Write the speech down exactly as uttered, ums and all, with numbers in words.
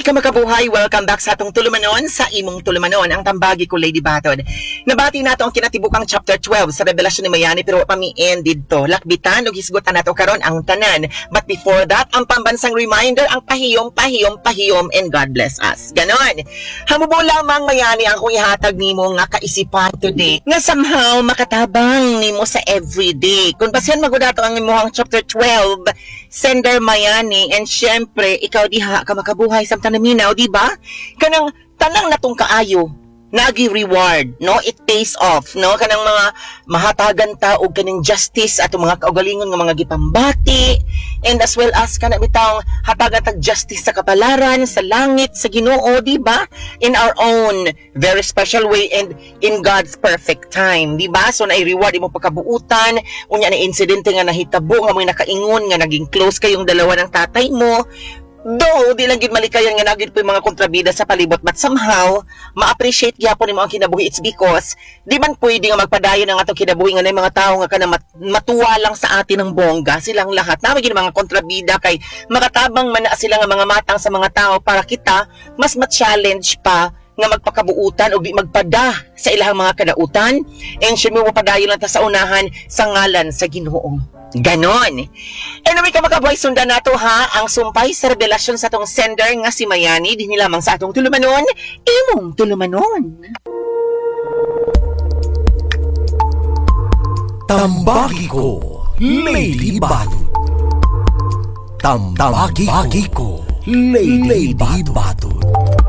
Hi, kamakabuhay! Welcome back sa atong tulumanon, sa imong tulumanon, ang tambagi ko Lady Batod. Nabati nato ang kinatibukang chapter twelve sa Revelasyon ni Mayani pero wa pa mi end didto. Lakbitan ug hisgutan nato karon ang tanan. But before that, ang pambansang reminder, ang pahiyom, pahiyom, pahiyom, and God bless us. Ganon. Hamubo lamang Mayani ang akong ihatag nimo nga kaisipan today nga somehow makatabang nimo sa everyday. Kung basihan magud ato ang imong chapter twelve, sender Mayani, and syempre ikaw diha ka makabuhay samtang naminaw, di ba? Kanang tanang natong kaayo nagi reward, no? It pays off, no? Kanang mga mahatagan ta og kaning justice atong mga kaugalingon nga mga gipambati, and as well as kana bitawng hatagan tag justice sa kapalaran, sa langit, sa Ginoo, di ba? In our own very special way and in God's perfect time, di ba? So na-reward imo pagkabuutan. Unya na insidente nga nahitabo nga mo'y nakaingon nga naging close kayong dalawa ng tatay mo. Though, di lang gid malikayan nga nagid po yung mga kontrabida sa palibot, but somehow, ma-appreciate gyapon nimo ang kinabuhi. It's because, di man pwede nga magpadayon ang atong kinabuhi nga na mga tao nga kana mat- matuwa lang sa atin ng bongga, silang lahat. Naman gid mga kontrabida kay makatabang man na sila nga mga matang sa mga tao para kita mas ma-challenge pa nga magpakabuutan o di magpada sa ilahang mga kadautan, and syempre mapadayon lang ta sa unahan sa ngalan sa Ginoo. Ganon. Anyway, kamakabuhay, sundan nato ha ang sumpay sa revelasyon sa atong sender nga si Mayani dinhi lamang sa atong tulumanon, imong tulumanon. Tambagi ko, Lady Batod. Tambagi ko, Lady Batod.